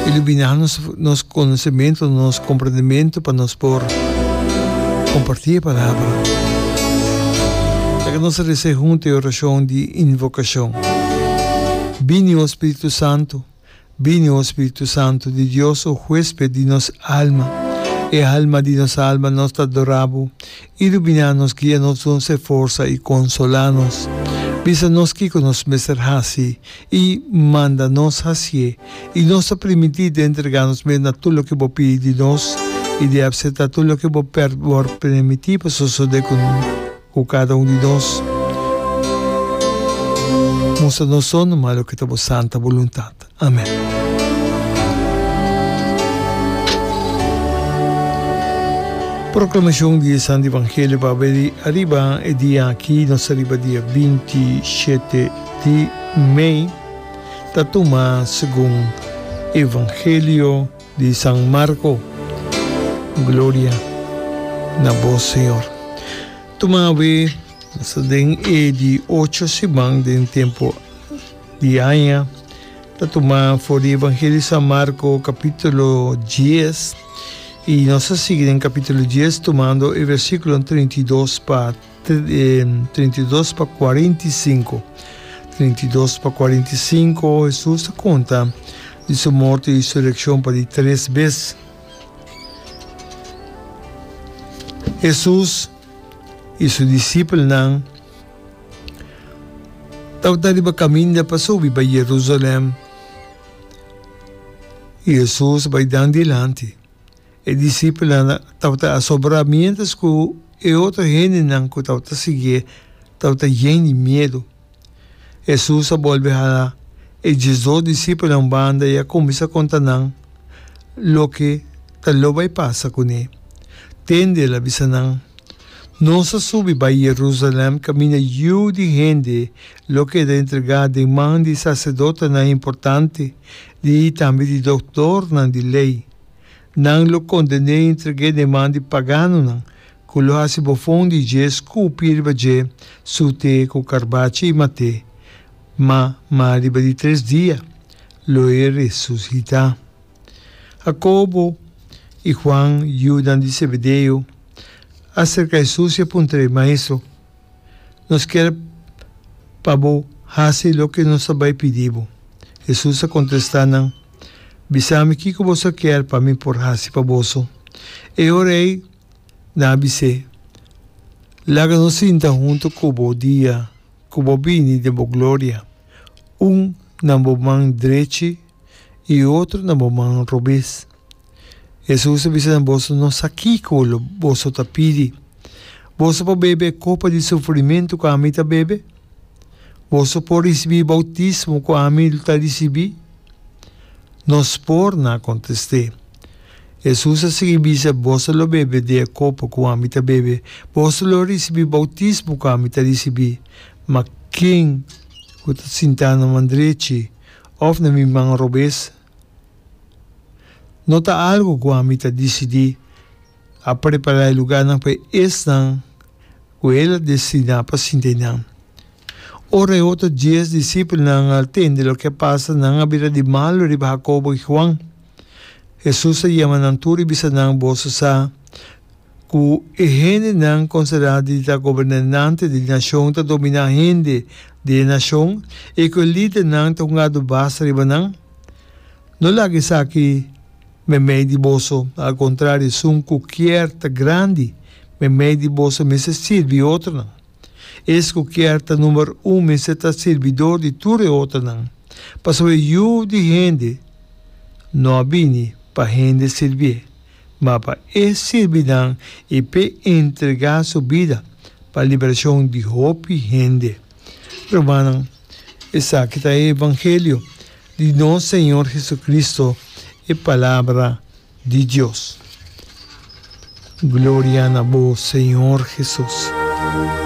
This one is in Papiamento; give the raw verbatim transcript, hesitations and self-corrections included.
Iluminá nos, nos konosementu, nos komprendementu pa nos por kompartí e palabra. Laga nos resa huntu e orashon di invokashon. Bini, o Spiritu Santu, bini, o Spiritu Santu di Dios, o huésped di nos alma, e alma di nos alma, nos ta adorá bo. Iluminá nos, guia nos, duna nos forsa i konsolá nos. Bisa nos kiko nos mester hasi i manda nos hasié, i nos ta primintí di entregá nos mes na tur loke bo pidi di nos i di aseptá tur loke bo por permití pa sosodé ku ku kada un di nos. Mustra nos so numa loke ta bo santa boluntat. Amèn. Proklamashon di e Santu Evangelio pa abri ariba e dia aki, nos ta riba dia binti shete di mei, ta tuma segun Evangelio di San Marko. Gloria na bo, Señor. Tuma awe, nos ta den e di ocho siman den tempu di aña, ta tuma for di Evangelio di San Marko kapítulo dies, i nos ta sigui den kapítulo dies tumando e versíkulo trinta i dos pa trinta i dos pa kuarenta i sinku. Trinta i dos pa kuarenta i sinku, Hesus ta konta di su morto i resurekshon pa di tres bes. Hesus i su disipelnan tabata riba kaminda pa subi bai Jerusalèm, i Hesus bai dan dilanti. E disipelnan tabata asobrá miéntras ku e otro hendenan ku tabata siguié tabata yen di miedu. Hesus a bolbe hala e diesdos disipelnan un banda i a kuminsá konta nan loke ta lo bai pasa kuné. Tende, el a bisa nan, Nos a subi bai Jerusalèm kaminda Yu di hende lo keda entregá den man di saserdotenan importante di i tambe di doktornan di lei. Nan lo konden'é i entreg'é den man di paganonan, ku lo hasi bofon di dje, skupi riba dje, sut'é ku karbachi i mat'é. Ma, ma riba di tres dia lo e resusitá. Hakobo i Huan, yunan di Zebedeo, a serka Hesus i a puntr'é, Maestro, nos kier pa bo hasi loke nos ta bai pidi bo. Hesus a kontestá nan, Bisa mi kiko boso kier pa mi por hasi pa boso. E ora ei nan a bis'é, Laga nos sinta huntu ku bo dia ku bo bini den bo gloria, un na bo man drechi i e otro na bo man robes. Hesus a bisa nan, Boso no sa kiko lo boso ta pidi. Boso por bebe e kopa di sufrimentu ku ami ta bebe? Boso por risibí boutismo ku ami ta risibí? Nos por, nan a kontest'é. Hesus a sigui bisa, Boso lo bebe di e kopa ku ami ta bebe, boso lo risibí boutismo ku ami ta risibí, ma ken ku ta sintá na man drechi òf na mi man robes? No ta algu ku ami ta disidí. A prepará e lugánan pa esnan ku el a destiná pa sinta einan. Ora e otro dies disipelnan a tende loke a pasa, nan a bira di malu riba Hakobo i Huan. Hesus a yama nan tur i bisa nan, Boso sa ku e hendenan konsiderá di ta gobernante di nashon ta dominá hende di e nashon i ku e lidernan ta hunga dubas riba nan? No laga esaki meimei di boso, al kontrario, esun ku kier ta grandi meimei di boso mester sirbi e otronan. Es ku kier ta number un mester ta sirbidor di tur e otronan, pasobra e Yu di hende no a bini pa hende sirbié, ma pa e sirbi nan i p'e entregá su bida pa liberashon di hopi hende. Rumannan, esaki ta e evangelio di nos Señor Jesucristo, e Palabra di Dios. Gloria na bo, Señor Jesus.